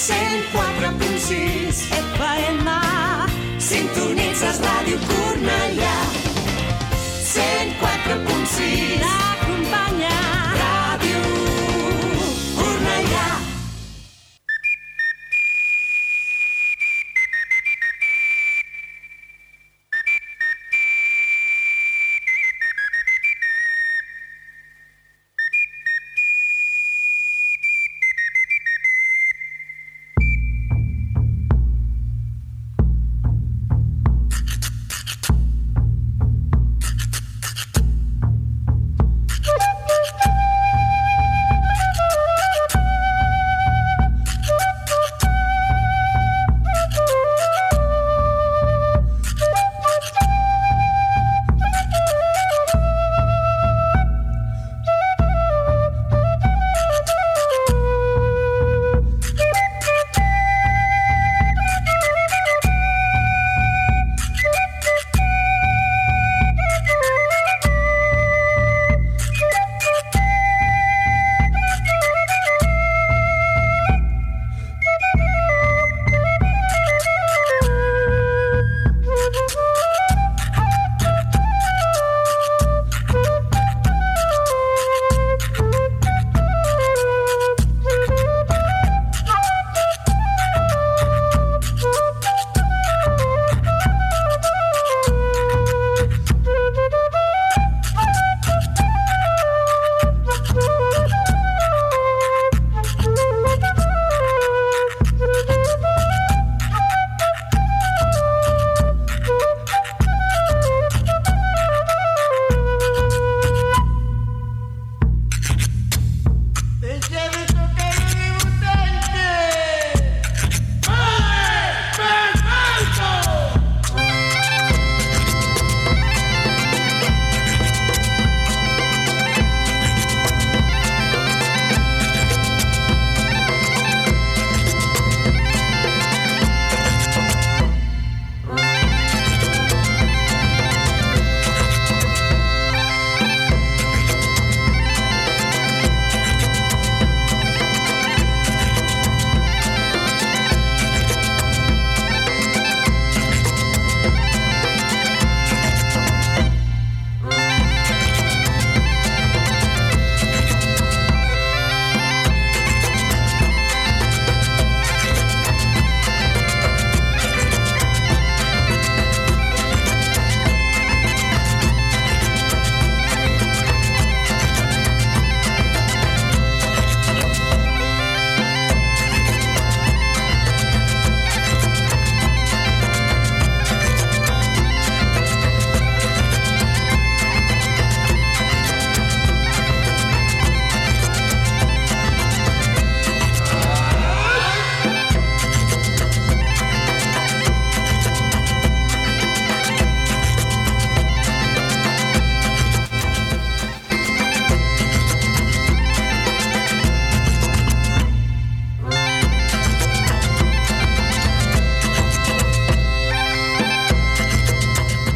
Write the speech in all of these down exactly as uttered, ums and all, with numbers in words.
cent quatre punt sis F M. Sintonitzes Ràdio Cornellà. cent quatre punt sis L'acompanya Ràdio Cornellà.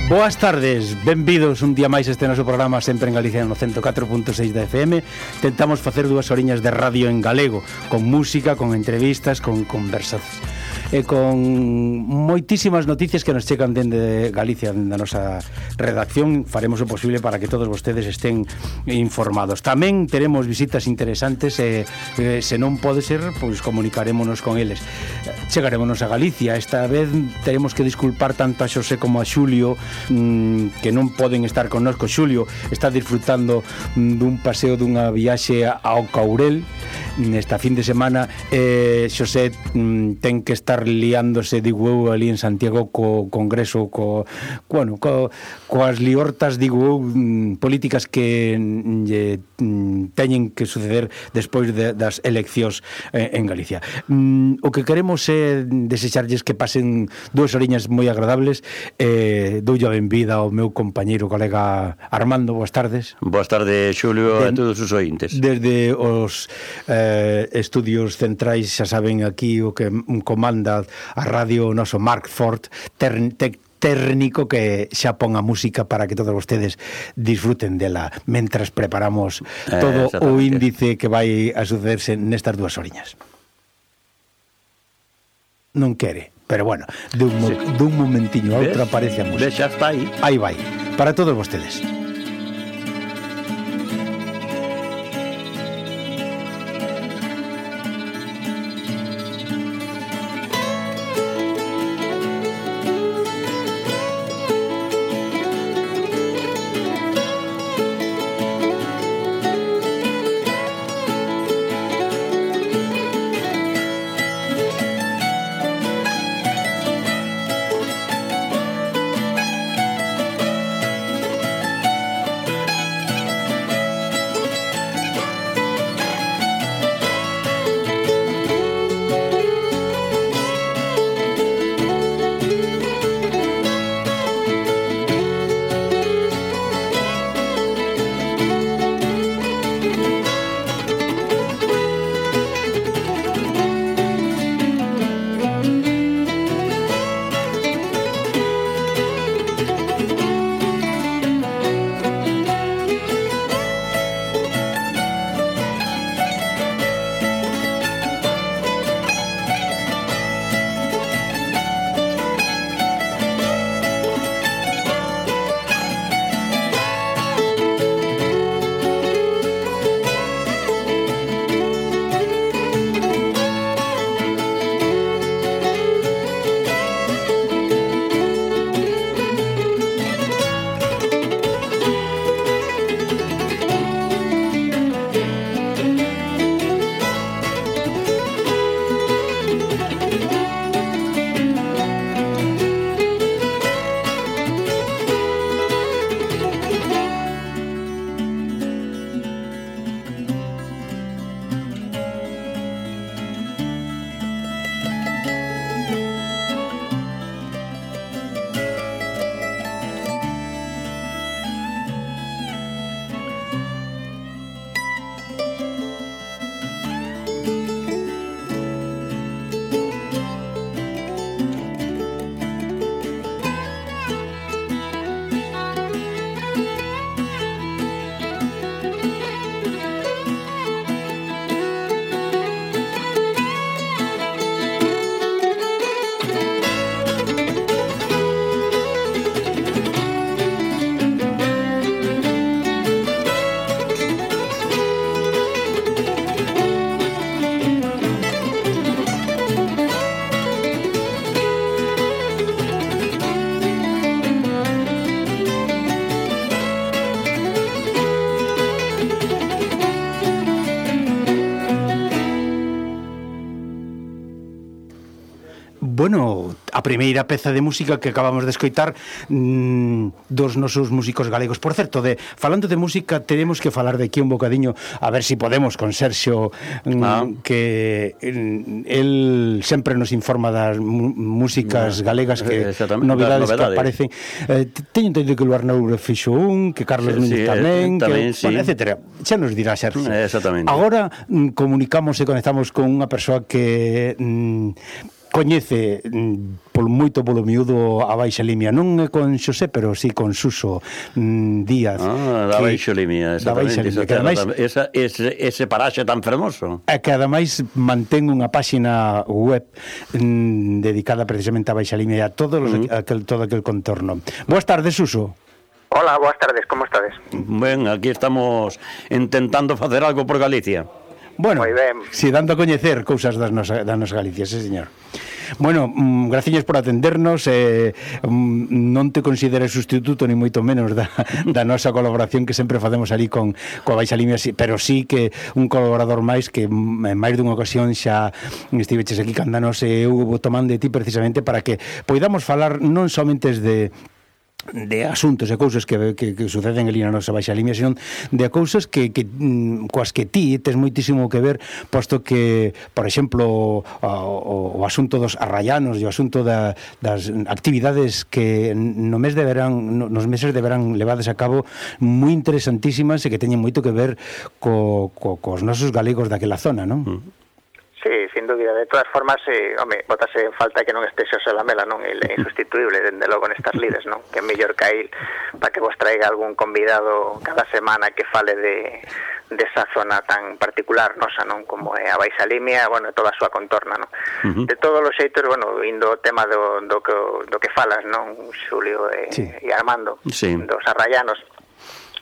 Boas tardes, benvidos un día máis este noso programa sempre en Galicia no ciento catro punto seis da F M. Tentamos facer dúas horiñas de radio en galego, con música, con entrevistas, con conversacións e con moitísimas noticias que nos chegan dende Galicia, da nosa redacción. Faremos o posible para que todos vostedes estén informados. Tamén teremos visitas interesantes e eh, se non pode ser, pois comunicarémonos con eles. Chegarémonos a Galicia. Esta vez teremos que disculpar tanto a Xosé como a Xulio, mmm, que non poden estar connosco. Xulio está disfrutando mmm, dun paseo, dunha viaxe ao Courel nesta fin de semana. eh, Xosé mmm, ten que estar liándose, digo eu, ali en Santiago co Congreso, co, bueno, co, coas liortas, digo eu, mmm, políticas que lle mmm, teñen que suceder despois de, das eleccións eh, en Galicia. Mmm, o que queremos é desexarlles que pasen dúas horiñas moi agradables. eh, Doulle a benvida ao meu compañeiro, colega Armando. Boas tardes. Boas tardes, Xulio, de, a todos os ointes. Desde os eh, estudios centrais, xa saben, aquí o que comanda a radio, o noso Mark Ford, ter, te, técnico, que xa pon a música para que todos vostedes disfruten dela mentras preparamos todo eh, o índice que vai a sucederse nestas dúas horiñas. non quere. Pero bueno, dun, mo, sí. dun momentiño a outro aparece a música. Ves, xa está aí. Aí vai, para todos vostedes. Bueno, a primeira peza de música que acabamos de escoitar mmm, dos nosos músicos galegos. Por certo, de, falando de música, tenemos que falar de aquí un bocadiño, a ver si podemos, con Sergio, mmm, ah. que él sempre nos informa das músicas galegas, que novidades, novidades que aparecen. Eh, teño entendido que o Arnaud fixo un, que Carlos Núñez sí, tamén, tamén que, sí. Bueno, etcétera. Xa nos dirá Sergio. Exactamente. Agora mmm, comunicamos e conectamos con unha persoa que mmm, coñece mm, polo moito polo miúdo a Baixa Limia, non é con Xosé, pero sí con Suso mm, Díaz. Ah, da Baixa Limia, exactamente. Limia, que ademais, esa, ese, ese paraxe tan fermoso. É que ademais mantén unha páxina web mm, dedicada precisamente a Baixa Limia e a todo, los, uh-huh. aquel, todo aquel contorno. Boas tardes, Suso. Hola, boas tardes, como estades? Ben, aquí estamos intentando facer algo por Galicia. Bueno, si dando a coñecer cousas das nos, das nos Galicia, sí, señor. Bueno, mm, graciñas por atendernos, eh, mm, non te consideres sustituto ni moito menos da, da nosa colaboración que sempre facemos ali con coa Baixa Limia, pero sí que un colaborador máis que en máis dunha ocasión xa estiveches aquí candanos e eu tomando de ti precisamente para que poidamos falar non somente de de asuntos e cousas que, que, que suceden ali na nosa Baixa Limia, senón de cousas que, que coas que ti tes moitísimo que ver, posto que, por exemplo, o, o, o asunto dos arraianos e o asunto da, das actividades que no mes de verán, nos meses de verán levades a cabo moi interesantísimas e que teñen moito que ver co, co, cos nosos galegos daquela zona, non? Sí, sí, sin dúbida. De todas formas, eh, home, botase en falta que non este Xosé Lamela, non? Ele é insustituible, dende logo nestas lides, non? Que é mellor que a il para que vos traiga algún convidado cada semana que fale de desa zona tan particular nosa, non? Como é a Baixa Limia, bueno, toda a súa contorna, non? Uh-huh. De todos os xeitos, bueno, indo o tema do, do, que, do que falas, non? Xulio e, sí. e Armando, sí. dos arrayanos.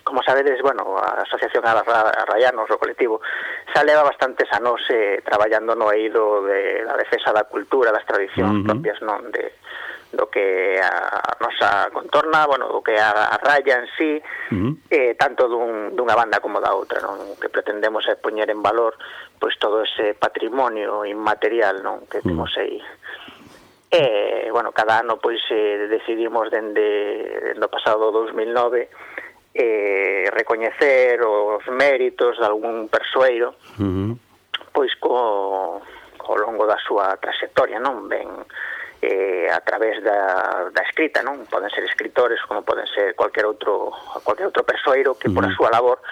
Como sabedes, bueno, a Asociación Arrayanos, o colectivo, xa leva bastantes anos eh, traballando no eido de la defensa da cultura, das tradicións uh-huh. propias, non, de do que a nosa contorna, bueno, do que a, a raya en sí, uh-huh. eh, tanto dun, dunha banda como da outra, non? O que pretendemos é poñer en valor pois todo ese patrimonio inmaterial, non, que temos aí. E, bueno, cada ano pois eh, decidimos dende, dende o pasado dos mil nove eh, recoñecer os méritos de algún persoeiro uh-huh. pois co, co longo da súa trayectoria, non? Ben eh, a través da, da escrita, non? Poden ser escritores como poden ser cualquier outro cualquier outro persoeiro que uh-huh. por a súa labor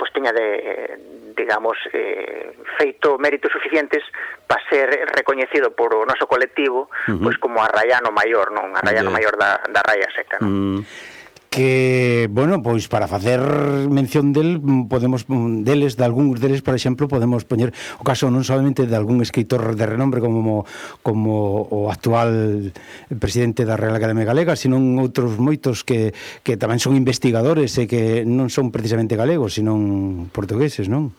pois teña de, digamos, eh, feito méritos suficientes para ser recoñecido por o noso colectivo uh-huh. pois como arrayano maior, non? Arrayano uh-huh. maior da, da raya seca, non? Uh-huh. Que, bueno, pois para facer mención del, podemos deles, de algúns deles, por exemplo, podemos poñer o caso non solamente de algún escritor de renombre como como o actual presidente da Real Academia Galega, sino outros moitos que, que tamén son investigadores e que non son precisamente galegos, sino portugueses, non?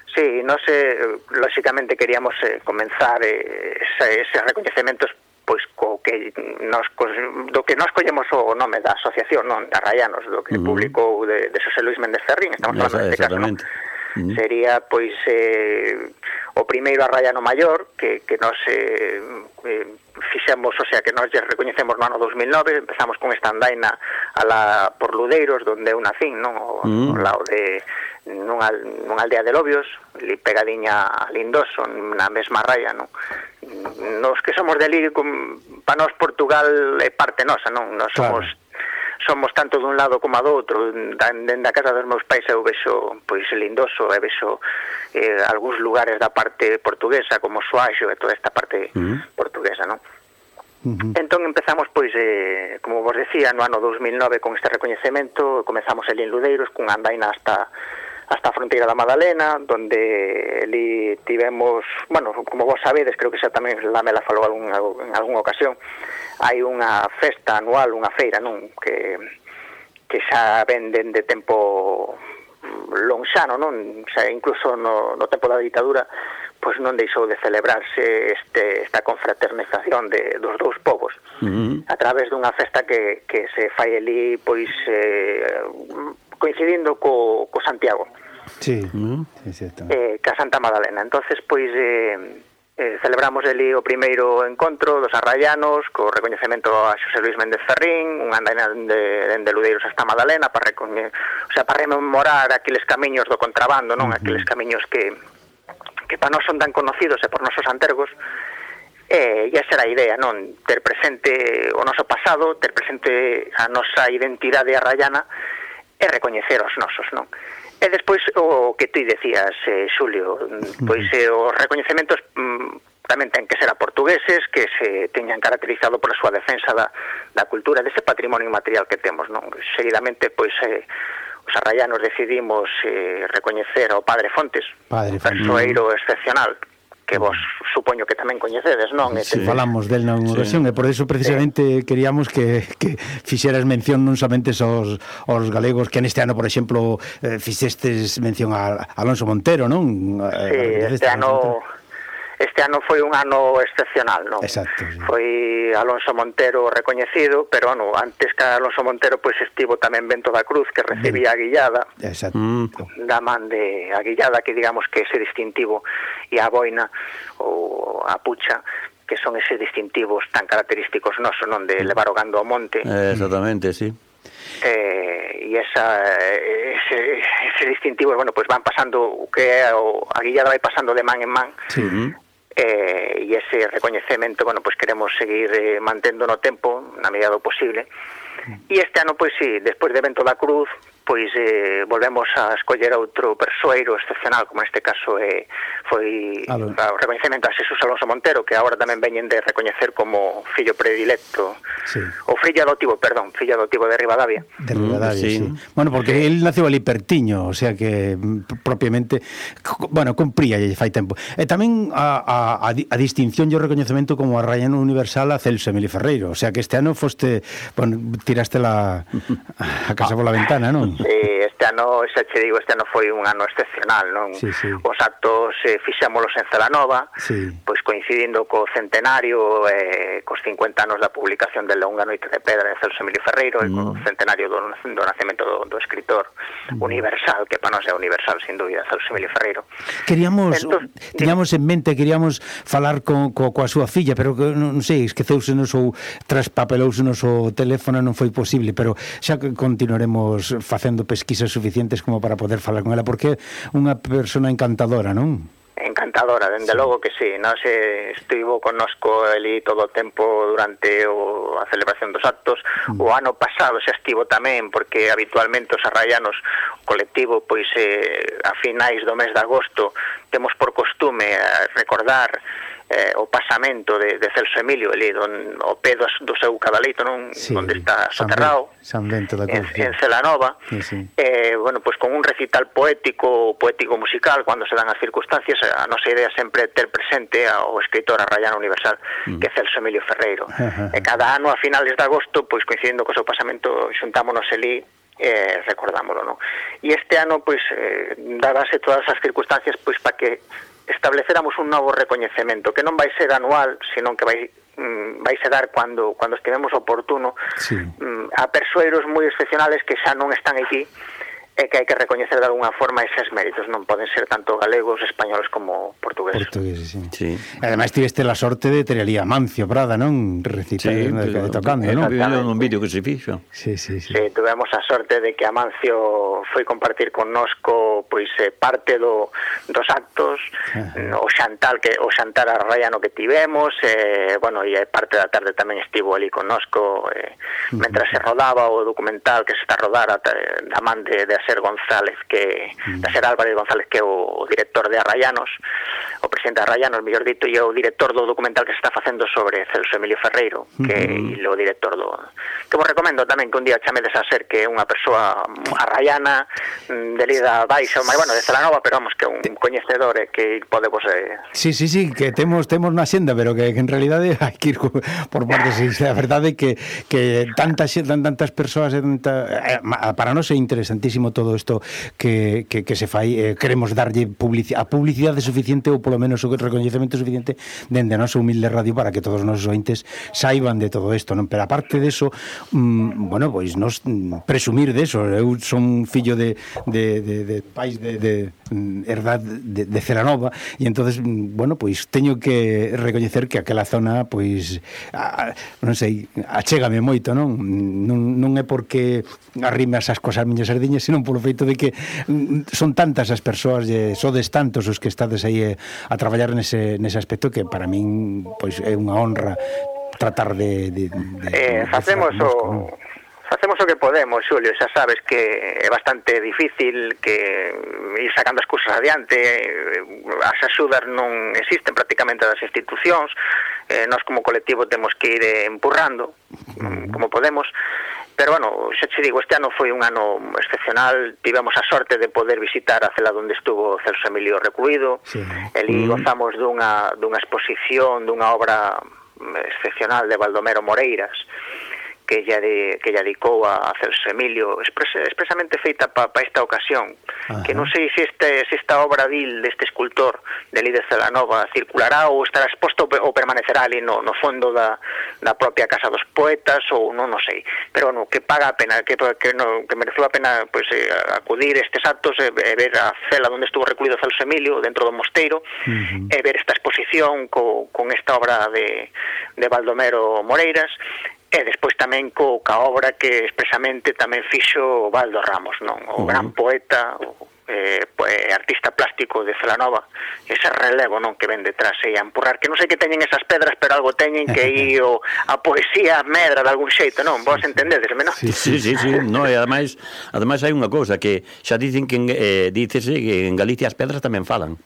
Sí, nós, eh, lóxicamente, queríamos eh, comenzar eh, ese, eses recoñecementos pois co que nos do que nos collemos o nome da asociación, non, de Arrayanos, do que uh-huh. publicou de, de Xosé Luis Méndez Ferrín, estamos falando deste caso, non? Uh-huh. Sería pois eh, o primeiro arrayano maior que, que nos eh, eh, fixemos, o sea, que nos recoñecemos no ano dos mil nove, empezamos con esta andaina a la por Ludeiros, donde eu nacín, non? O, uh-huh. ao lado de nunha, nunha aldea de Lobios, ali pegadiña a Lindoso, na mesma raya, non? Nos que somos de ali, para nós Portugal é parte nosa, non? Nos somos claro. somos tanto dun lado como do outro. Dende a casa dos meus pais eu vexo pois Lindoso, e vexo eh, algúns lugares da parte portuguesa como Soaxo e toda esta parte uh-huh. portuguesa, non? Uh-huh. Entón empezamos, pois, eh, como vos decía, no ano dos mil nove con este recoñecemento. Comezamos ali en Ludeiros cunha andaina hasta hasta a fronteira da Madalena, donde ali tivemos, bueno, como vos sabedes, creo que xa tamén Lamela falou algún, en algunha ocasión, hai unha festa anual, unha feira, non, que que xa venden de tempo lonxano, non, xa incluso no, no tempo da ditadura, pois non deixou de celebrarse este, esta confraternización de, dos dous povos, uh-huh. a través dunha festa que, que se fai ali, pois, eh, coincidindo co, co Santiago. Sí, uh-huh. sí, eh, ca Santa Madalena. Entonces, pois, eh, eh, celebramos ali o primeiro encontro dos arrayanos, co recoñecemento a Xosé Luis Méndez Ferrín, unha andaina de, de Ludeiros hasta Madalena, para recoñe, o sea, para rememorar aqueles camiños do contrabando, non? Uh-huh. Aqueles camiños que que para nós son tan conocidos e por nosos antergos. E, e esa era a idea, non? Ter presente o noso pasado, ter presente a nosa identidade arrayana e recoñecer os nosos, non? E despois o que ti decías, eh, Xulio, pois eh, os recoñecementos mm, tamén ten que ser a portugueses, que se teñan caracterizado por a súa defensa da, da cultura, dese patrimonio inmaterial que temos, non? Seguidamente, pois, eh, os arrayanos decidimos eh, recoñecer ao Padre Fontes, Padre Fontes, persoeiro excepcional, que vos supoño que tamén coñecedes, non? Sí, falamos del na ocasión, sí. E por eso precisamente sí. queríamos que, que fixeras mención non somente aos, aos galegos, que neste ano, por exemplo, eh, fixestes mención a Alonso Montero, non? Sí, este ano... Este ano foi un ano excepcional, non? Exacto, sí. Foi Alonso Montero recoñecido, pero, bueno, antes que Alonso Montero, pois estivo tamén Bento da Cruz, que recibía a guillada. Exacto. Da man de a guillada, que digamos que ese distintivo, e a boina, ou a pucha, que son eses distintivos tan característicos nosos, non? De levar o gando ao monte. Eh, exactamente, sí. Eh, e esa ese, ese distintivo, bueno, pois van pasando, o que é o, a guillada vai pasando de man en man. Sí. Eh, e ese recoñecemento, bueno, pois queremos seguir eh, mantendo no tempo, na medida do posible. E este ano, pois sí, despois de Bento da Cruz, pois eh, volvemos a escoller outro persoeiro excepcional, como neste caso eh, foi Aló. o recoñecemento a Xesús Alonso Montero, que agora tamén veñen de recoñecer como fillo predilecto, sí. ou fillo adotivo, perdón, fillo adotivo de Ribadavia. De Ribadavia, sí. sí. Bueno, porque sí. él nació ali pertiño, o sea que propiamente, bueno, cumpría lle fai tempo. E tamén a, a, a distinción e o recoñecemento como arraiano universal a Celso Emilio Ferreiro, o sea que este ano foste, bueno, tiraste la a casa pola ventana, non? Sí, este ano, xa che digo, este ano foi un ano excepcional, non? Sí, sí. Os actos eh, fixámolos en Celanova, sí. pois coincidindo co centenario, eh, cos cincuenta anos da publicación de Longa Noite de Pedra de Celso Emilio Ferreiro, mm. e co centenario do, do nacemento do, do escritor mm. universal, que para nós é universal, sin dúbida, Celso Emilio Ferreiro. Queríamos, Entonces, teníamos en mente, queríamos falar co, co, coa súa filla, pero que, non sei, esqueceusenos ou traspapelousenos o teléfono, non foi posible, pero xa que continuaremos facendo pesquisas suficientes como para poder falar con ela, porque é unha persona encantadora, non? Encantadora, dende sí. logo que sí, non se estivo connosco ali todo o tempo durante o, a celebración dos actos, mm. o ano pasado xa estivo tamén, porque habitualmente os arraianos, o colectivo, pois eh, a finais do mes de agosto temos por costume a recordar eh, o pasamento de, de Celso Emilio, ali don, o pé do, do seu cadaleito, non? Sí, onde está soterrado, San Bento da Cruz, en, en Celanova, sí, sí. Eh, bueno, pues con un recital poético, poético musical, cando se dan as circunstancias, a nosa idea sempre é ter presente ao escritor arraiano universal, mm. que é Celso Emilio Ferreiro. E cada ano, a finales de agosto, pois coincidindo co seu pasamento, xuntámonos ali, eh, recordámoslo, non? E este ano, pois, eh, dadase todas as circunstancias, pois, para que estableceramos un novo recoñecemento, que non vai ser anual, senón que vai mm, vai se dar cando cando estivemos oportuno, sí. mm, a persoeiros moi excepcionales que xa non están aquí, e que hai que recoñecer de alguna forma eses méritos, non poden ser tanto galegos, españoles como portugueses. Portugueses, sí. sí. Ademais tiveste la sorte de ter ali a Mancio Prada, non? Recitar, sí, de, de tocando, non? Un vídeo que se fixo. Sí, sí, sí. Sí, tuvemos a sorte de que Amancio foi compartir connosco pois eh, parte do, dos actos, o xantal que o xantar arraiano que tivemos, eh, bueno, e parte da tarde tamén estivo ali connosco, eh, uh-huh. mentras se rodaba o documental que se está a rodar a, da man de, de Ser González, que mm. da Ser Álvarez González, que é o director de Arraianos, o presidente de Arraianos, mellor dito, e o director do documental que se está facendo sobre Celso Emilio Ferreiro, que mm-hmm. é o director do... Que vos recomendo tamén que un día chamedes a Ser, que é unha persoa arraiana, de Lida Baixa, mas, bueno, de Celanova, pero vamos, que é un coñecedor e que podemos... Eh... Sí, sí, sí, que temos temos na xenda, pero que, que en realidade hai que ir por partes, a verdade que, que tantas, tantas persoas, tanta, para nós é interesantísimo todo isto que, que, que se fai, eh, queremos darlle publicidade, a publicidade suficiente ou polo menos o recoñecemento suficiente dende a nosa humilde radio para que todos os nosos ointes saiban de todo isto, non? Pero aparte de eso, mm, bueno, pois nos presumir de eso, eu son fillo de, de, de, de pais de, de herdad de, de Celanova e entonces, bueno, pois teño que recoñecer que aquela zona, pois a, non sei, achégame moito, non? Non, non é porque arrime as cosas miñas sardiñas, senón polo feito de que son tantas as persoas e sodes tantos os que estades aí a traballar nese, nese aspecto que para min pois é unha honra tratar de, de, de eh, facemos de o facemos o que podemos, Xulio, xa sabes que é bastante difícil que ir sacando as cousas adiante, as axudas non existen prácticamente das institucións, eh, nós como colectivo temos que ir empurrando como podemos. Pero, bueno, xa che digo, este ano foi un ano excepcional, tivemos a sorte de poder visitar a cela onde estuvo Celso Emilio recluído, sí. Eli mm. gozamos dunha, dunha exposición, dunha obra excepcional de Baldomero Moreiras, que ella, de, que ella dedicou a Celso Emilio, expres, expresamente feita para pa esta ocasión. Ajá. Que non sei se, este, se esta obra vil deste escultor de Líder Celanova circulará ou estará exposto ou permanecerá ali no, no fondo da, da propia Casa dos Poetas ou non, non sei. Pero, bueno, que paga a pena, que, que, no, que mereceu a pena pues, eh, acudir estes actos e eh, ver a cela onde estuvo recluído Celso Emilio dentro do mosteiro, uh-huh. e ver esta exposición co, con esta obra de, de Baldomero Moreiras, e despois tamén co ca obra que expresamente tamén fixo Baldo Ramos, non? O uh-huh. gran poeta, o eh, pues, artista plástico de Celanova, ese relevo, non, que ven detrás e a empurrar, que non sei que teñen esas pedras, pero algo teñen que ir o, a poesía medra de algún xeito, non? Vos entendedesme, non? Sí, sí, sí, sí. No, e ademais, ademais hai unha cousa que xa dicen que eh, dícese que en Galicia as pedras tamén falan.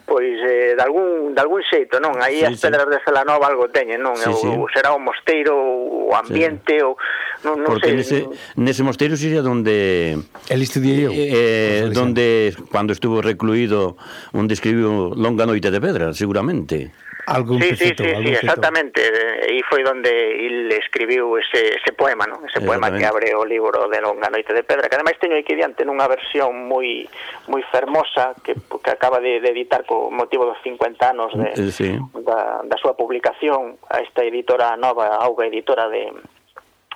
Pois eh, de algún de algún xeito, non? Aí sí, as pedras sí. de Celanova algo teñen, non? Sí, sí. O, será o mosteiro, o ambiente, sí. o non, non Porque sei. Nese, nese mosteiro sería donde el estudiei eu. Eh, donde cuando estuvo recluído, onde escribiu Longa noite de pedra, seguramente. Algún sí, pecito, sí, sí, algún sí, exactamente. E foi onde il escribiu ese, ese poema, non? Ese poema que abre o libro de Longa noite de pedra, que ademais teño aquí diante nunha versión moi moi fermosa que, que acaba de, de editar co motivo dos cincuenta anos de, eh, sí. da, da súa publicación a esta editora nova, Auga Editora de,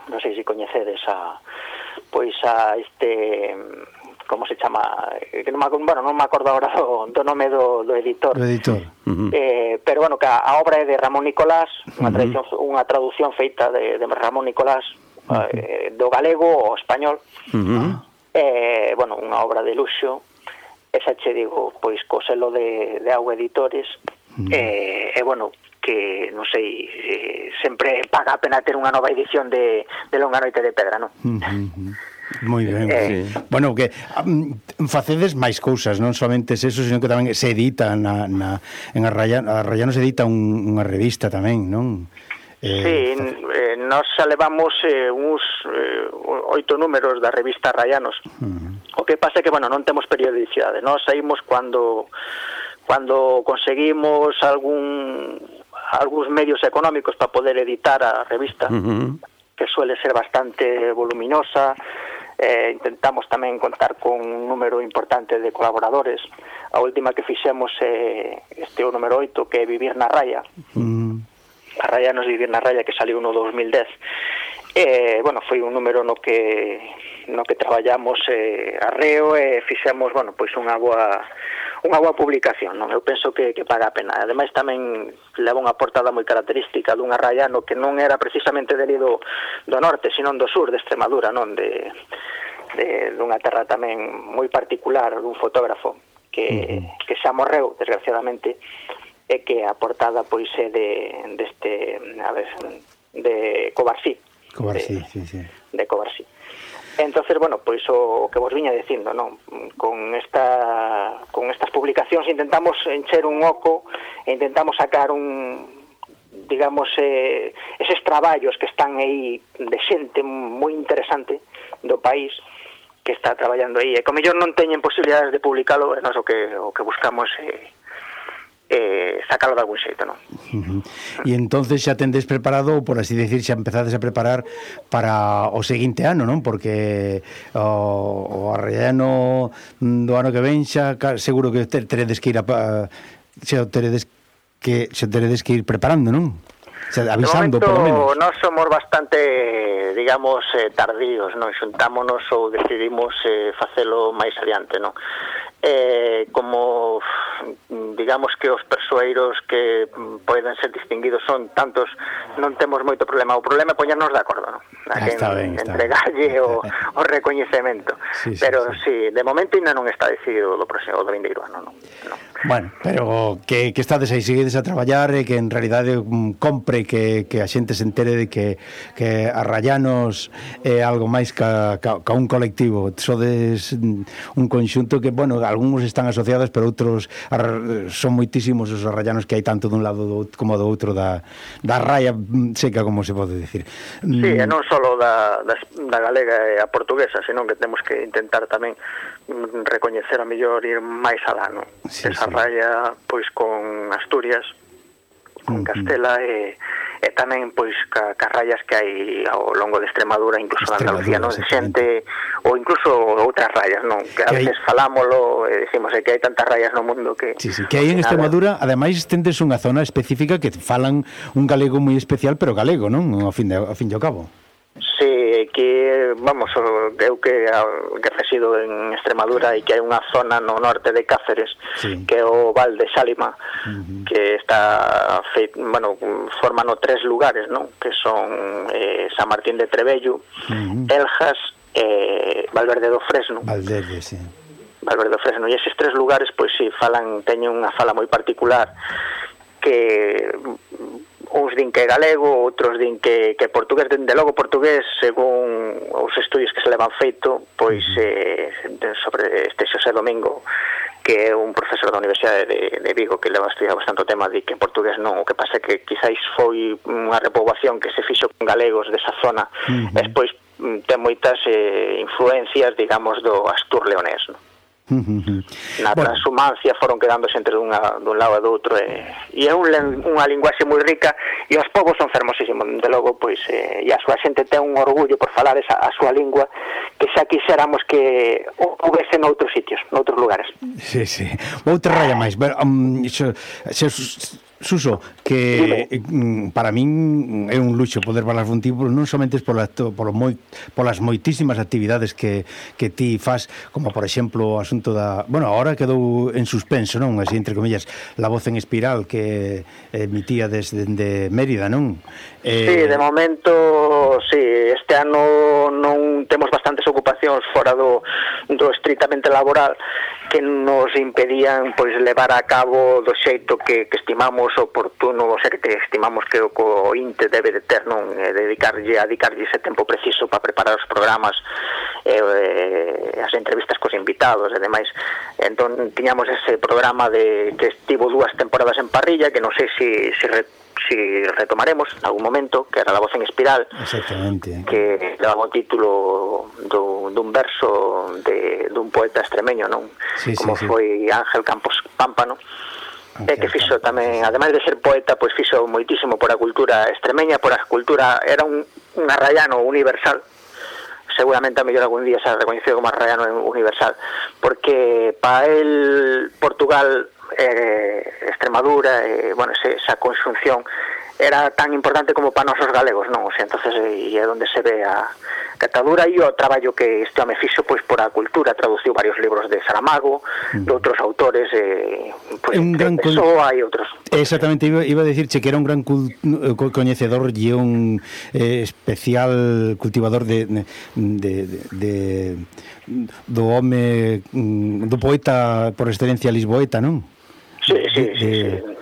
non sei se coñecedes a, pois a este, como se chama, que non me, bueno, non me acordo agora do, do nome do, do editor, do editor. Uh-huh. eh, pero bueno, que a, a obra é de Ramón Nicolás, unha uh-huh. traducción, unha traducción feita de, de Ramón Nicolás, uh-huh. eh, do galego ao español. Uh-huh. eh, bueno, unha obra de luxo, esa che digo, pois co selo de, de Auga Editores, uh-huh. eh, e eh, bueno, que, non sei, eh, sempre paga a pena ter unha nova edición de, de Longa noite de pedra, non? Uh-huh. Moi ben, eh, sí. Bueno, que um, facedes máis cousas, non somente eso, sino que tamén se edita na, na, en Arrayano, Arrayano se edita un, unha revista tamén, non? Eh, sí, eh, nos levamos eh, uns eh, oito números da revista Arrayanos. Uh-huh. O que pasa é que, bueno, non temos periodicidade, nós saímos cando cando conseguimos algún algúns medios económicos para poder editar a revista, uh-huh. que suele ser bastante voluminosa. Eh, intentamos tamén contar con un número importante de colaboradores. A última que fixemos é eh, este o número oito, que é Vivir na Raya. Uh-huh. A Raya nos Vivir na Raya, que saliu no dos mil dez. Eh, bueno, foi un número no que no que traballamos eh, arreo e fixemos, bueno, pois unha boa unha boa publicación, non? Eu penso que, que paga a pena. Ademais tamén leva unha portada moi característica dun arraiano que non era precisamente deli do, do norte, sino do sur de Extremadura, non? De, de dunha terra tamén moi particular, dun fotógrafo que, uh-huh. que xa morreu, desgraciadamente, e que a portada pois é de deste, a ver, de Covarsí. Covarsí, de, sí, sí. De Covarsí. Entonces, bueno, pois o que vos viña dicindo, non? Con esta con estas publicacións intentamos encher un oco e intentamos sacar un, digamos, eh, eses traballos que están aí de xente moi interesante do país que está traballando aí, e como mellor non teñen posibilidades de publicalo, e nós o que o que buscamos é eh, eh, sacalo de algún xeito, non? Uh-huh. E entonces xa tendes preparado, por así decir, xa empezades a preparar para o seguinte ano, non? Porque o, o Arraiano do ano que ven xa seguro que teredes que ir a, xa teredes que xa teredes que ir preparando, non? Xa avisando, momento, por lo menos. Nós somos bastante, digamos, eh, tardíos, non? Xuntámonos ou decidimos eh, facelo máis adiante, non? Eh, como digamos que os persoeiros que poden ser distinguidos son tantos, non temos moito problema. O problema é poñernos de acordo, non? Ah, está ben, está entregarlle o, o recoñecemento. Sí, sí, pero sí, sí, de momento ainda non está decidido do próximo do vindeiro ano, non? non. Bueno, pero que, que estades aí, seguides a traballar e que en realidade um, compre que, que a xente se entere de que, que Arrayanos é algo máis ca, ca, ca un colectivo. Sodes un conxunto que, bueno, algúns están asociados, pero outros son moitísimos os arrayanos que hai tanto dun lado do, como do outro da, da raya seca, como se pode decir. Sí, e non só da, da, da galega e a portuguesa, senón que temos que intentar tamén recoñecer a mellor ir máis alá, non? Sí, esa sí. Raya, pois, con Asturias, con Castela e, e tamén, pois, ca, ca rayas que hai ao longo de Extremadura, incluso de Andalucía, non? De xente, ou incluso outras rayas, non? Que a veces falámolo e decimos que hai tantas rayas no mundo que... Sí, sí, que hai en Extremadura, ademais, tendes unha zona específica que falan un galego moi especial, pero galego, non? Ao fin de, ao fin de ao cabo. Sí, que, vamos, eu que, que resido en Extremadura e que hai unha zona no norte de Cáceres, sí. Que é o Val de Xálima, uh-huh. Que está feito, bueno, forman tres lugares, non? Que son eh, San Martín de Trebello, uh-huh. Eljas e eh, Valverde do Fresno. Valverde, sí. Valverde do Fresno, e eses tres lugares, pois si, falan, teñen unha fala moi particular, que uns din que é galego, outros din que, que é portugués. Dende logo portugués, según os estudios que se levan feito, pois eh, sobre este Xosé Domingo, que é un profesor da Universidade de, de Vigo, que leva estudiado bastante o tema, di que en portugués non, o que pasa é que quizáis foi unha repoboación que se fixo con galegos desa zona, uh -huh. e despois ten moitas eh, influencias, digamos, do Astur leonés, non? Na transhumancia foron quedándose entre dunha, dun lado e do outro, e, e é un, unha linguaxe moi rica, e os povos son fermosísimos, de logo, pois, eh, e a súa xente ten un orgullo por falar esa, a súa lingua, que xa quixéramos que houvese noutros sitios, noutros lugares. Sí, sí. Outra raya máis, pero, um, xo, xo, Suso, que Dime. para min é un luxo poder falar contigo, non somente por, por moi, polas moitísimas actividades que, que ti faz, como por exemplo o asunto da... Bueno, agora quedou en suspenso, non? Así, entre comillas, La Voz en Espiral, que emitía desde de Mérida, non? Eh... Sí, de momento, sí, este ano non temos bastantes ocupacións fora do, do estritamente laboral, que nos impedían pois levar a cabo do xeito que, que estimamos oportuno, o sea, que te estimamos que o co INTE debe de ter, non, eh, dedicarlle a dedicarlle ese tempo preciso para preparar os programas, eh, eh, as entrevistas cos invitados e demais. Entón tiñamos ese programa de que estivo dúas temporadas en parrilla, que non sei se si, si si retomaremos en algún momento, que era La Voz en Espiral. Exactamente. Que daba o título do, dun verso de, dun poeta extremeño, non? Sí, como sí, foi sí. Ángel Campos Pámpano, e que fixo tamén, ademais de ser poeta, pois fixo moitísimo por a cultura extremeña, por a cultura, era un, un arraiano universal, seguramente a mellor algún día se ha reconocido como arraiano universal, porque para el Portugal, eh, Extremadura, eh, bueno, ese, esa conxunción era tan importante como para nosos galegos, non? O sea, entonces, e é onde se ve a catadura e o traballo que este home fixo pois por a cultura, traduciu varios libros de Saramago, mm. de outros autores, eh, pois, un gran de Pessoa e outros. Exactamente, iba, iba a decirche que era un gran cul, coñecedor e un eh, especial cultivador de, de, de, de do home, do poeta por excelencia lisboeta, non? Sí, sí, de, sí, de, sí.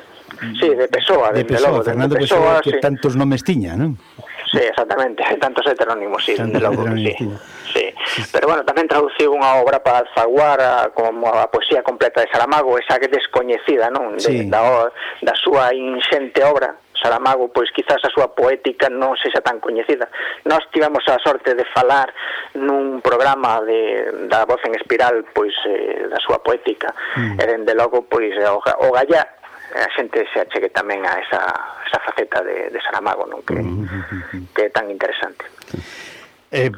Sí, de Pessoa, de Pessoa, logo, Fernando de Pessoa, Pessoa, que sí. tantos nomes tiña, non? Sí, exactamente, tantos heterónimos, sí, tantos de logo, heterónimos, sí. Sí. Pero bueno, tamén traduciu unha obra para Alfaguara, como a poesía completa de Saramago, esa que descoñecida, non? De, Sí. da, da súa inxente obra. Saramago, pois quizás a súa poética non sexa tan coñecida. Nós tivemos a sorte de falar nun programa de, da Voz en Espiral, pois eh, da súa poética, mm. e dende logo, pois, o, o Gallá, a xente se achegue tamén a esa, esa faceta de, de Saramago, non? Que, mm-hmm. que é tan interesante. Eh,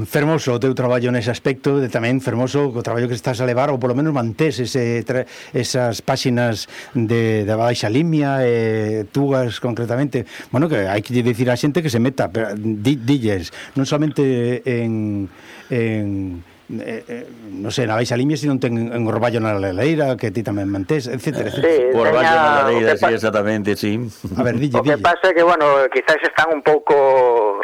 fermoso o teu traballo nese aspecto, de tamén fermoso o traballo que estás a levar, ou polo menos mantés ese, tra, esas páxinas de, de Baixa Limia, eh, Tugas concretamente. Bueno, que hai que dicir a xente que se meta, pero di, dilles, non somente en... en Eh, eh, non sei, na Baixa Limia se non ten en Orballo na Leleira, que ti tamén mantés, etcétera, etcétera. Sí, Por Orballo na Leleira, sí, pa... exactamente, sí. A ver, dille, o que dille. pasa é que, bueno, quizás están un pouco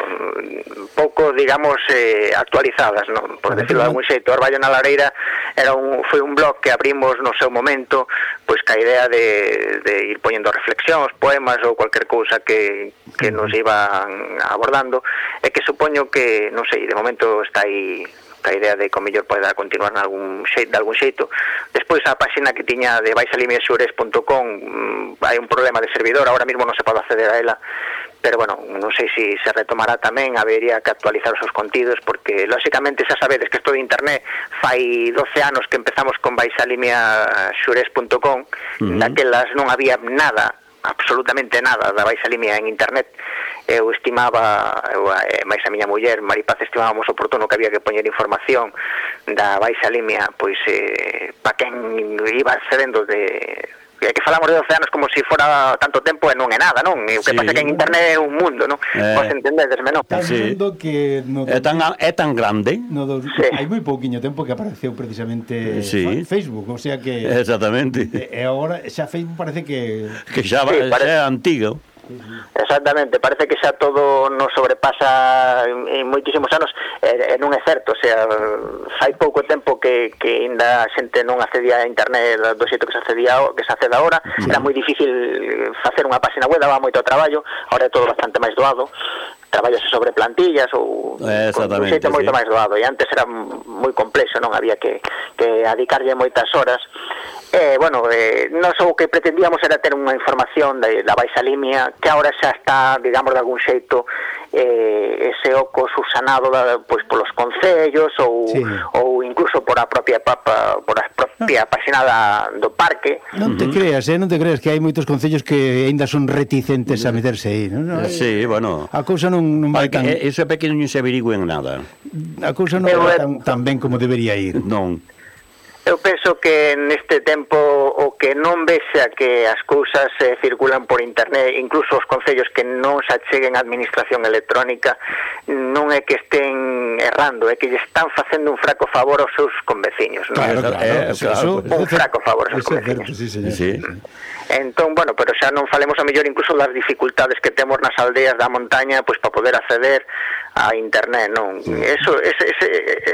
pouco, digamos, eh, actualizadas, non? Por decirlo de algún xeito. Orballo na Lareira era un, foi un blog que abrimos no seu momento, pois ca idea de, de ir poñendo reflexións, poemas ou cualquier cousa que, que nos iban abordando, e que supoño que, non sei, de momento está aí a idea de que o mellor poida continuar en algún xeito, de algún xeito. Despois a páxina que tiña de baixalimia xures punto com, mmm, hai un problema de servidor, ahora mesmo non se pode acceder a ela, pero bueno, non sei se se retomará tamén, habería que actualizar os seus contidos, porque lóxicamente xa sabedes que isto de internet fai doce anos que empezamos con baixalimia xures punto com, uh-huh. daquelas non había nada, absolutamente nada da Baixa Limia en internet. Eu estimaba, eu, eh, máis a miña muller Maripaz, estimábamos oportuno que había que poñer información da Baixa Limia, pois eh, para quen iba accedendo de... É que falamos de doce anos como se si fora tanto tempo e non é nada, non? O que sí. pasa que en internet é un mundo, non? Eh, Vos entendedesme, non? Tan sí. mundo que... No é, tan, é tan grande. No do, sí. Hai moi pouquiño tempo que apareceu precisamente sí. Facebook, o sea que... Exactamente. E, e agora xa Facebook parece que... Que xa, sí, parece... xa é antigo. Exactamente, parece que xa todo nos sobrepasa en, en moitísimos anos, e, e non é certo, o sea, fai pouco tempo que, que ainda a xente non accedía a internet do xeito que se accedía que se accede agora, sí. Era moi difícil facer unha página web, daba moito traballo, agora é todo bastante máis doado, traballase sobre plantillas ou con un xeito moito sí. máis doado, e antes era moi complexo, non había que, que adicarlle moitas horas. Eh, bueno, eh, non só o que pretendíamos era ter unha información de, da baixa limia que agora xa está, digamos, de algún xeito eh, ese oco subsanado da, pois polos concellos ou, sí. ou incluso por a propia papa, por a propia páxina da, do parque. Non te uh-huh. creas, eh, non te creas que hai moitos concellos que aínda son reticentes a meterse aí, non? No, sí, bueno. A cousa non, non vai tan... Eso é pequeno non se averigüen nada. A cousa non vai tan, tan ben como debería ir. Non. Eu penso que neste tempo o que non vexa que as cousas eh, circulan por internet, incluso os concellos que non se acheguen a administración electrónica, non é que estén errando, é que lle están facendo un fraco favor aos seus conveciños, non? Claro, claro, eh, claro. Un fraco favor aos seus conveciños. Sí, señor. Sí. Entón, bueno, pero xa non falemos a mellor incluso das dificultades que temos nas aldeas da montaña, pois para poder acceder a internet, non? Sí. Eso, ese, ese,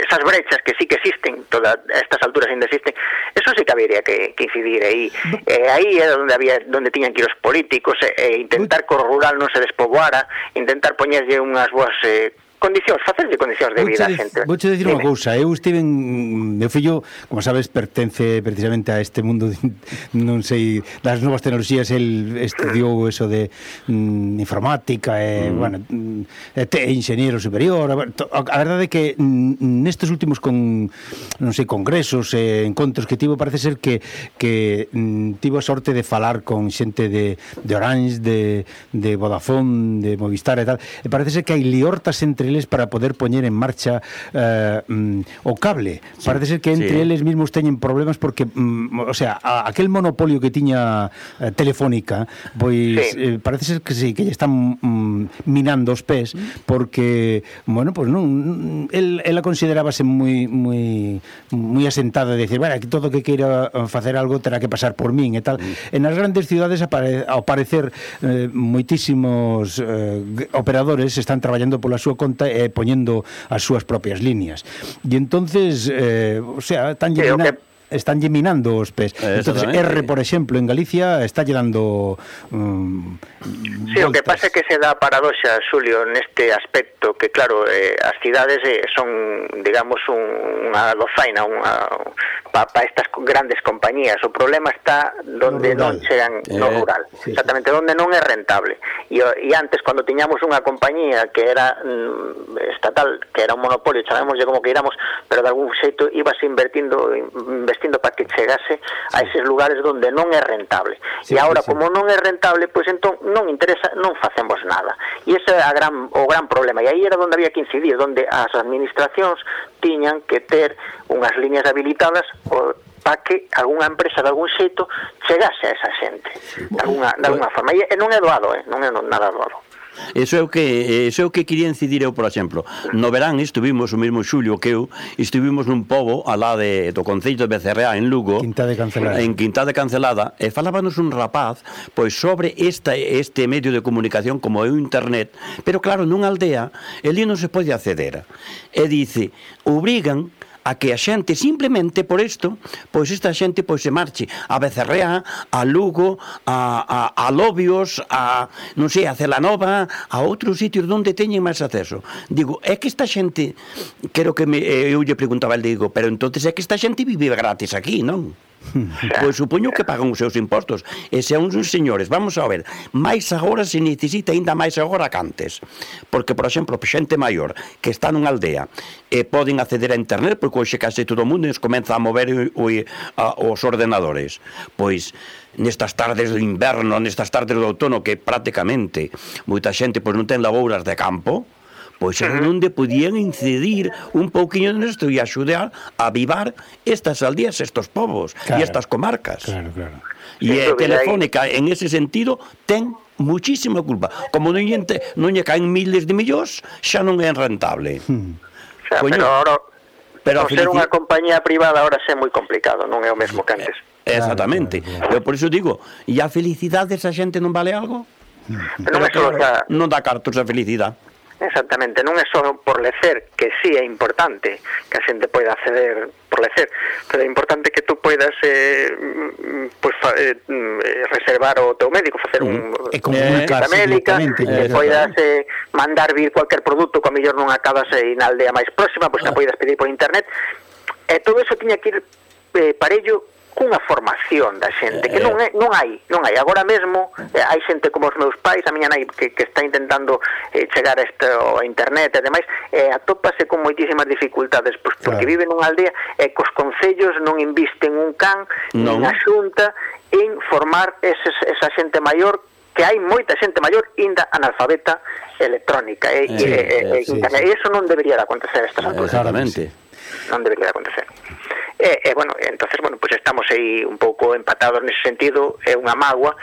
esas brechas que sí que existen, todas estas alturas ainda existen, eso sí que habría que, que incidir aí. Eh, aí é onde había, donde tiñan que ir os políticos, e eh, intentar que o rural non se despoboara, intentar poñerlle unhas boas eh, condicións, facerlle condicións de vida a xente. Vou che dicir unha cousa, eu estive en... Meu fillo, como sabes, pertence precisamente a este mundo, de, non sei, das novas tecnoloxías, el estudiou eso de mm, informática, e, mm. bueno, e te, enxeñero superior, a, a verdade é que mm, nestes últimos con, non sei, congresos e encontros que tivo, parece ser que, que mm, tivo a sorte de falar con xente de, de Orange, de, de Vodafone, de Movistar e tal, e parece ser que hai liortas entre eles para poder poñer en marcha uh, um, o cable. Sí, parece ser que entre sí. eles mismos teñen problemas porque, um, o sea, a, aquel monopolio que tiña uh, Telefónica, pois sí. eh, parece ser que sí, que lle están um, minando os pés porque, bueno, pois pues non, el, ela considerábase moi moi moi asentada de decir, bueno, que todo que queira facer algo terá que pasar por min e tal. Mm. En as grandes ciudades apare, ao parecer eh, moitísimos eh, operadores están traballando pola súa conta e poñendo as súas propias líneas. E entonces, eh, o sea, están lle mina, están lle minando os pés. Entonces, R, por exemplo, en Galicia está lle dando um, sí, voltas. O que pasa é que se dá paradoxa, Xulio, neste aspecto, que claro, eh, as cidades eh, son, digamos, un, unha dozaina unha, para pa estas grandes compañías. O problema está donde no non chegan eh, no rural, sí, exactamente, sí. Donde non é rentable. E, e antes, cando tiñamos unha compañía que era mm, estatal, que era un monopolio, chamémoslle como que iramos, pero de algún xeito ibase invertindo investindo para que chegase a eses lugares donde non é rentable. Sí, e agora, sí, sí. Como non é rentable, pois entón non interesa, non facemos nada. E ese é a gran, o gran problema. E aí era onde había que incidir, donde as administracións tiñan que ter unhas líneas habilitadas o, para que algunha empresa de algún xeito chegase a esa xente de alguna, de alguna forma. E non é doado, eh? Non é nada doado. Eso é o que eso é o que quería incidir eu, por exemplo. No verán estuvimos o mesmo Xulio que eu, estuvimos nun pobo alá de do concello de Becerreá en Lugo, Quinta de Cancelada. En Quinta de Cancelada, e falábanos un rapaz pois sobre esta este medio de comunicación como é o internet, pero claro, nunha aldea ali non se pode acceder. E dice, obrigan a que a xente simplemente por isto, pois esta xente pois se marche a Becerreá, a Lugo, a, a, a Lobios, a, non sei, a Celanova, a outros sitios onde teñen máis acceso. Digo, é que esta xente, quero que me, eu lle preguntaba, el digo, pero entonces é que esta xente vive gratis aquí, non? Pois supoño que pagan os seus impostos. E se uns señores, vamos a ver, máis agora se necesita ainda máis agora que antes, porque, por exemplo, xente maior que está nunha aldea e poden acceder a internet, porque hoxe case todo o mundo nos comeza a mover o, a, os ordenadores. Pois nestas tardes do inverno, nestas tardes do outono, que prácticamente moita xente pois non ten labouras de campo, pois era onde podían incidir un pouquiño nesto e axudar a avivar estas aldeas, estos povos, claro, e estas comarcas. Claro, claro. E a Telefónica, en ese sentido, ten muchísima culpa. Como non lle, non lle caen miles de millóns, xa non é rentable. Hmm. O sea, pero ahora, pero por ser unha compañía privada ahora é moi complicado, non é o mesmo que antes. Exactamente. Claro, claro, claro. Eu por iso digo, e a felicidade esa xente non vale algo? Pero non é só claro, non dá cartos a felicidade. Exactamente, non é só por lecer, que sí é importante que a xente poida acceder por lecer, pero é importante que tú poidas eh, pues, fa, eh, reservar o teu médico, facer un e comunicarse médica, que poidas eh, mandar vir cualquier produto que a mellor non acabas eh, na aldea máis próxima, pois pues, que poidas pedir por internet, e todo eso tiña que ir eh, parello cunha formación da xente, que non é, non hai, non hai. Agora mesmo eh, hai xente como os meus pais, a miña nai que, que está intentando eh, chegar a, este, a internet e demais, eh, atópase con moitísimas dificultades, pois porque claro. Vive nunha aldea e cos concellos non invisten un can, no. Nin a xunta en formar eses, esa xente maior, que hai moita xente maior inda analfabeta electrónica, e, sí, e, e, sí, internet, sí. E eso non debería de acontecer a estas alturas. Exactamente. Non debería de acontecer. E, e, bueno, entonces, bueno, pues estamos aí un pouco empatados nese sentido, é unha mágoa.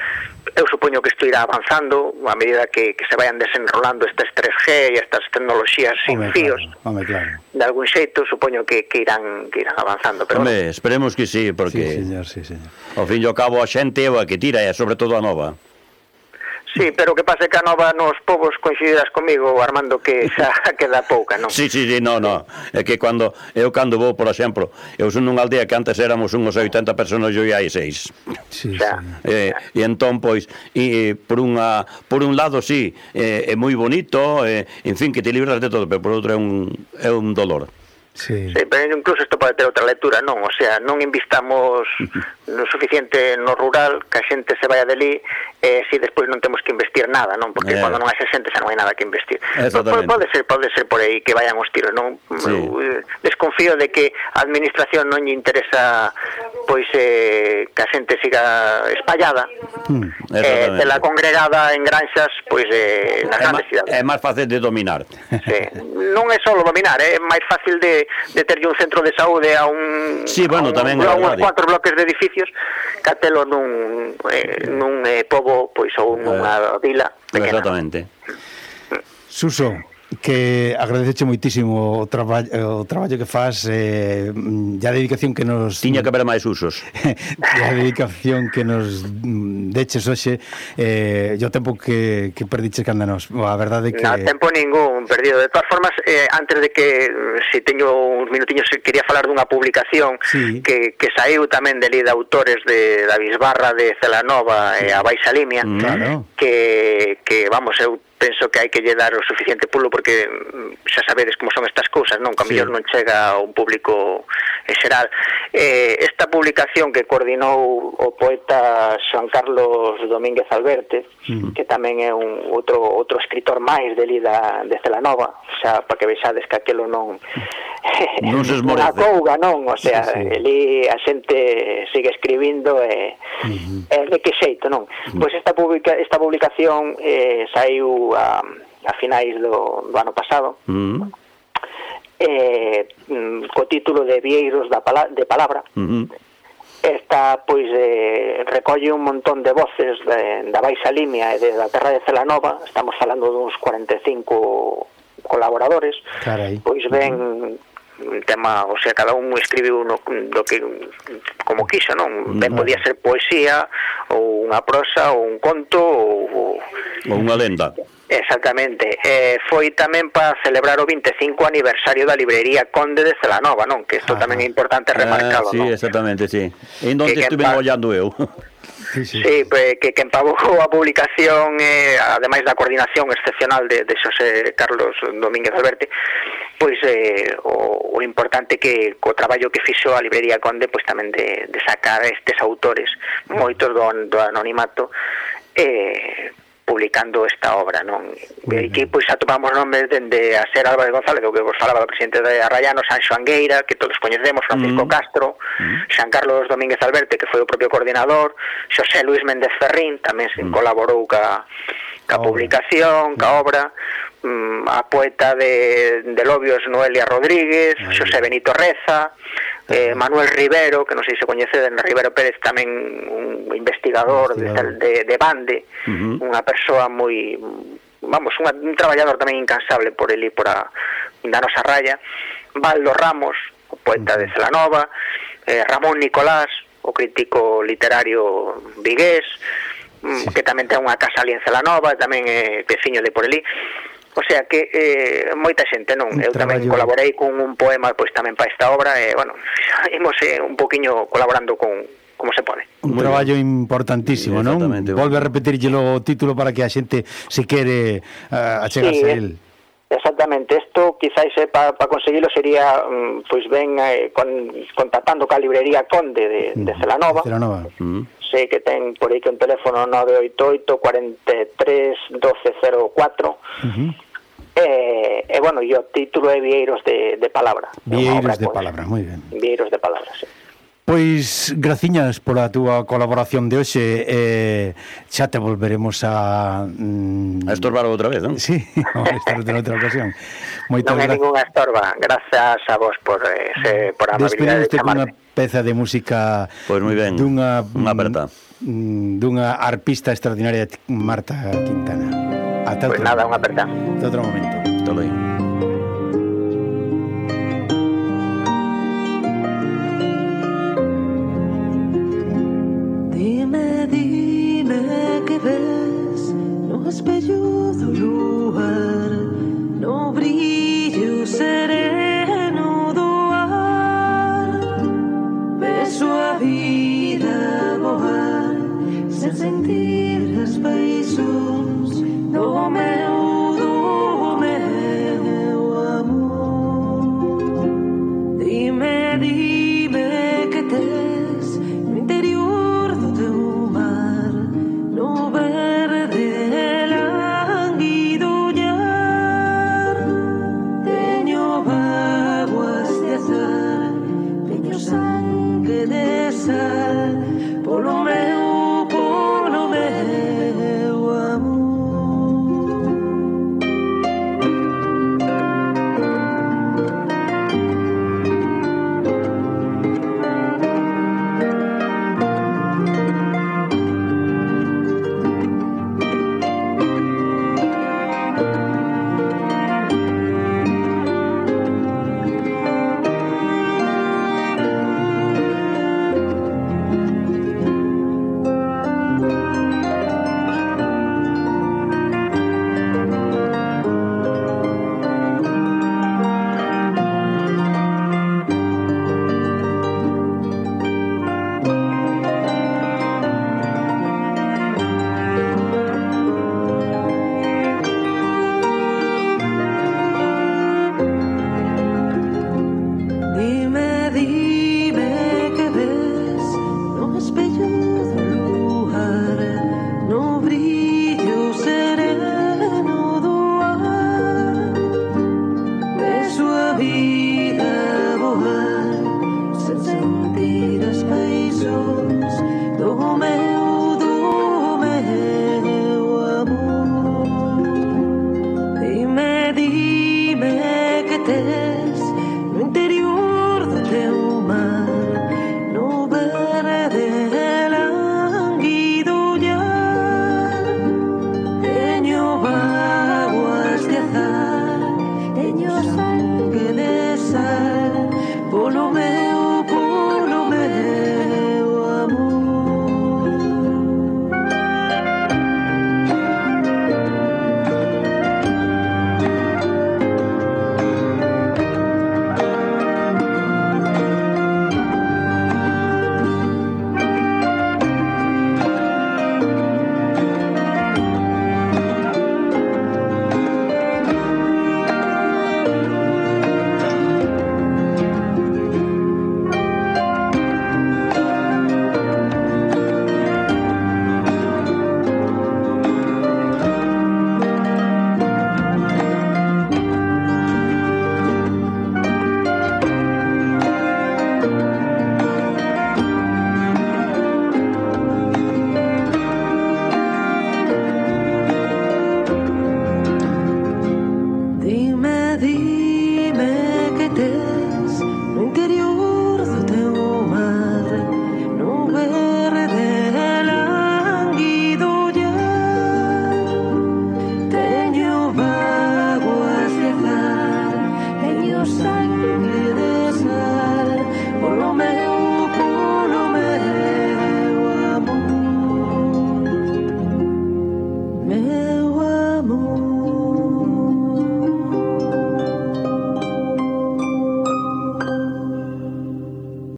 Eu supoño que isto irá avanzando a medida que, que se vayan desenrolando estas tres G e estas tecnoloxías sin home, fíos. Claro, home, claro. De algún xeito, supoño que, que irán que irán avanzando, pero home, bueno. Esperemos que sí, porque sí, señor, sí, señor. Ao fin e ao cabo a xente é a que tira, e sobre todo a nova. Sí, pero que pase que a nova nos povos coincidirás comigo, Armando, que xa queda pouca, non? Sí, sí, sí, no, no. É que cando eu cando vou, por exemplo, eu son nunha aldea que antes éramos uns oitenta personas e hoxe hai seis. Sí, xa, sí. Eh, e entón, pois, e, por unha por un lado, sí, é, é moi bonito, é, en fin, que te libras de todo, pero por outro é un, é un dolor. Sí. Sí, pero incluso isto pode ter outra lectura, non? O sea, non invistamos no suficiente no rural, que a xente se vaya deli, e eh, si despois non temos que investir nada, non? Porque eh. cando non hai xente xa non hai nada que investir. Pode, pode ser, pode ser por aí que vayan os tiros, non? Sí. Desconfío de que a administración non lle interesa pois eh, que a xente siga espallada, mm, eh, de la congregada en granxas, pois eh, nas grandes cidades. É máis fácil de dominar. Sí. Non é só dominar, é máis fácil de de terlle un centro de saúde a un sí, bueno, a, un, tamén a uns cuatro bloques de edificios que atelo nun, eh, nun eh, pobo pois ou nunha vila pequena. Exactamente. Suso, que agradeceche moitísimo o traballo o traballo que faz, eh, e a dedicación que nos tiña que haber máis usos. E a dedicación que nos deches hoxe, eh, o tempo que, que perdiches canda nos. A verdade que non, tempo ningún perdido. De todas formas, eh, antes de que se si teño uns minutiños, quería falar dunha publicación sí. que, que saiu tamén de li de autores de da Bisbarra, de Celanova sí. e a Baixa Limia, claro. que, que vamos, eu penso que hai que lle dar o suficiente pulo, porque xa sabedes como son estas cousas, non? Que a mellor sí. non chega a un público xeral. Eh, esta publicación que coordinou o poeta Xoan Carlos Domínguez Alberte, mm. que tamén é un outro outro escritor máis de Lida de Celanova, xa para que vexades que aquelo non non se esmorece. Unha couga, non? O sea, sí, sí. ali a xente sigue escribindo e, mm-hmm. e de que xeito, non? Mm. Pois esta publica, esta publicación eh, saiu a, a finais do, do ano pasado, mm. eh, co título de Vieiros da pala, de Palabra. Mm-hmm. Esta, pois, eh, recolle un montón de voces de, da Baixa Limia e de, da terra de Celanova. Estamos falando duns cuarenta e cinco colaboradores. Carai. Pois ben... Mm-hmm. Un tema, o sea, cada un escribiu no, do que como quiso, non? Ben podía ser poesía ou unha prosa ou un conto ou, ou unha lenda. Exactamente. Eh, foi tamén para celebrar o vinte e cinco aniversario da librería Conde de Celanova, non? Que isto ah, tamén é importante remarcalo, ah, sí, non? Sí, exactamente, sí. En donde estuve pa... ollando eu. Sí, sí. Sí, pues, que, que empavou a publicación, eh, ademais da coordinación excepcional de, de Xosé Carlos Domínguez Alberte, pois eh, o, o importante que co traballo que fixo a librería Conde, pois tamén de, de sacar estes autores, moitos do, do anonimato, eh, publicando esta obra, non? E aquí pois atopamos nomes dende a ser Álvarez González, o que vos falaba do presidente de Arraiano, Sanxo Angueira, que todos coñecemos, Francisco mm. Castro, mm. Xoan Carlos Domínguez Alberte, que foi o propio coordinador, Xosé Luis Méndez Ferrín, tamén se mm. colaborou ca, ca oh. publicación, ca obra, mm, a poeta de, de Lobios, Noelia Rodríguez, Ay. Xosé Benito Reza, Eh, Manuel Rivero, que non sei se coñece, de Rivero Pérez, tamén un investigador, investigador. De, de, de Bande, uh-huh. unha persoa moi, vamos, unha, un traballador tamén incansable por eli, por a da nosa raya. Baldo Ramos, o poeta uh-huh. de Celanova, eh, Ramón Nicolás, o crítico literario vigués, Sí. que tamén ten unha casa ali en Celanova, tamén é veciño de por ali. O sea que eh, moita xente, non? Un Eu tamén traballo... colaborei con un poema pois tamén para esta obra e, bueno, imos eh, un poquinho colaborando con como se pode. Un Muy traballo bien. importantísimo, non? Exactamente. Volve a repetirllelo o título para que a xente se quere uh, achegarse Sí, a él. Exactamente, isto quizás eh, para pa conseguilo sería um, pois ben eh, con, contactando ca librería Conde de, de Celanova. Celanova. Mm. Sei que ten por aí que un teléfono nove oito oito, cuatro tres, doce cero cuatro. Uh-huh. E, e bueno, e o título é Vieiros de, de Palabra. Vieiros de Palabra, moi ben. Vieiros de Palabra, sí. Pois graciñas pola túa colaboración de hoxe, eh, xa te volveremos a mm, A estorbar outra vez, non? sí, vamos a estar en outra ocasión. Moitas Non é gra... ninguna estorba, grazas a vos por, eh, se, por a amabilidade de Despedimos cunha chamarme. peza de música Pois moi ben, dunha, unha aperta mm, dunha arpista extraordinaria, Marta Quintana. Ata Pois outro, nada, unha aperta. ata outro momento. Todo aí. Dime, dime que ves no espello do luar, no brillo sereno do ar. Beso a vida voar sen sentir as paixóns do meu, do meu amor. Dime, dime que tes no interior do teu mar, no verde lánguido ollar. Teño vaguas de azar, teño sangue de sal, polo meu, polo meu amor. Dime, dime que ves no espello do luar, no brillo sereno do ar. Beso a vida voar sen sentir as paixóns do meu, do meu amor. Dime, dime que tes no interior do teu mar, no verde lánguido ollar. Teño vaguas de azar, teño sangue de sal, polo meu, polo meu amor. Dime, dime que tes no interior do teu mar, no verde lánguido ollar. Teño vaguas de azar, teño sangue